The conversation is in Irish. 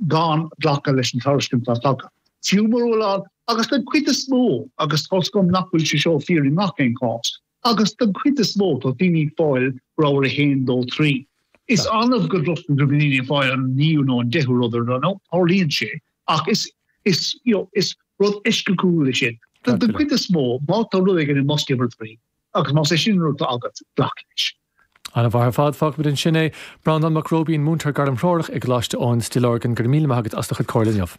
gan glacadh leis an tairiscint atá tagtha. Fiú mura bhfuil ann, agus den chuid is mó, agus tá's agam nach bhfuil sé seo fíor i ngach aon chás, agus den chuid is mó tá daoine ag fáil rogha 1, 2, 3. Is annamh go gcloistear go mbíonn daoine ag fáil an naoú nó an deichiú rud ar nó tarlaíonn sé, ach is, is, you know, is rud eisceachtúil é sin. Den chuid is mó, má tá rud éigin i mbosca uimhir 3, agus más é sin an rud atá agat, glac leis. An-mhaith ar fad, fágfaimid ansin é. Breandán Mac Róibín, múinteoir gairmthreorach i gColáiste Eoin, Stigh Lorgan, go raibh míle maith agat as do chuid comhairle inniu.